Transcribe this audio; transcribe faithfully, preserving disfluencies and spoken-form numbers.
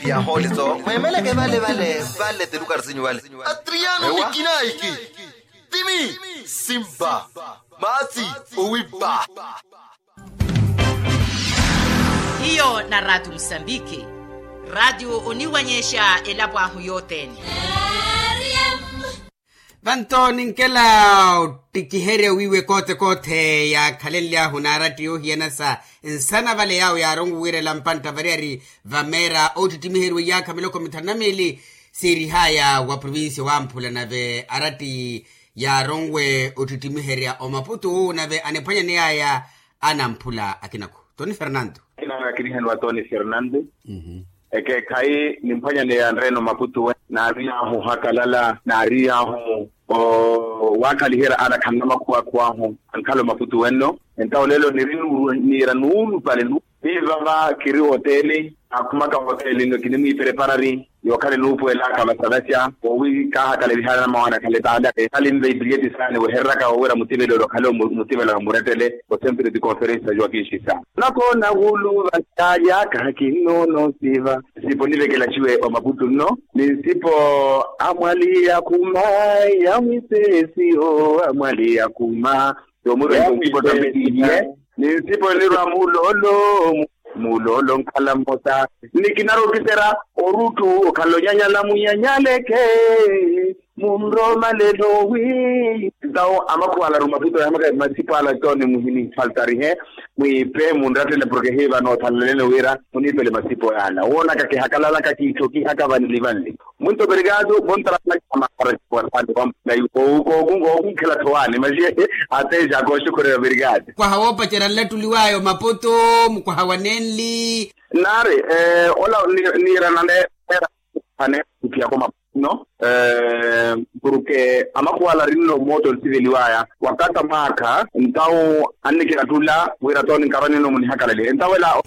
Yahooliso mweemeleke vale vale vale telukari sinyu vale. Atriano nikinaiki timi simba maatsi owipa. Hiyo na ratu musambiki ratu oniwanyexa elapo ahu yothene. Vanto ninkela ottikiherya wiiwe koothe koothe yaakhalenly'ahu n'aratti yoohiyana sa nsana vale yaawo yaaronwe wiirela mpantta variyari vameera oottittimiheryiwe iyaakha miloko mithanu na miili siirih'aya wa provincia wamphula nave aratti yaaronwe ottittimiherya omaputu nave aniphwanyaney'aya anamphula akinako toni fernando. Akina akirihaniwa toni fernando. Ekeekhayi nimphwanyaneya nreeno maputu we naariy'ahu ohakalala naariy'ahu owakhaliherya ana khanna makhuwa akhuw'ahu ankhala omaputu wenno. Entawo lelo niri niira nuulupale nu ni vava kiri hoteli akhumaka hoteli nno kinimwiipreparari yookhala enuupuwel'aka vasavasya owi kaahakala evihara na mawaana akhale taala ekhale nve ipiliyeti saani wehereraka wowira mutivelelo okhale mutivela omurettele. Osempiri ti konferensi sajuwa kinxisa nakoona wulu vasyalya kaha kinnoona osiva. Nsipo nivekela ciwe omaputu nno ni nsipo amwaliya khuma ya mwisesiyo amwaliya khuma. Yomwirwa nsipo tambikihiye ni nsipo nirwa mulolo mulolo nkhala mmosa ni kinarokiserya oruttu okhala onyanyala munyanyaleke munromalelo wi. Ntawo amakhuwa ala arumaputo yahamaka masipo ala toni muhini faltarihe mwiipe munrattele porke hiiva noothalalene wira muniipele masipo yaala woonaka kihakalalaka kiitthokihaka vanli vanli. Muito obrigado bontarana amakara siwasani wampulayu kookunkhela thowaani maxi ateja kooxukhurela obrigado. Mukwaha woopacerya nlattuliw'aya omaputu mukwaha wa nenli. Naari ola niira nane era ane kuphiyako maputu no porke amakhuwala arinno mooto nsiveliw'aya wakata mwaakha ntawo annikirattula wira tooni nkarwanino munihakalalihe ntawo ela.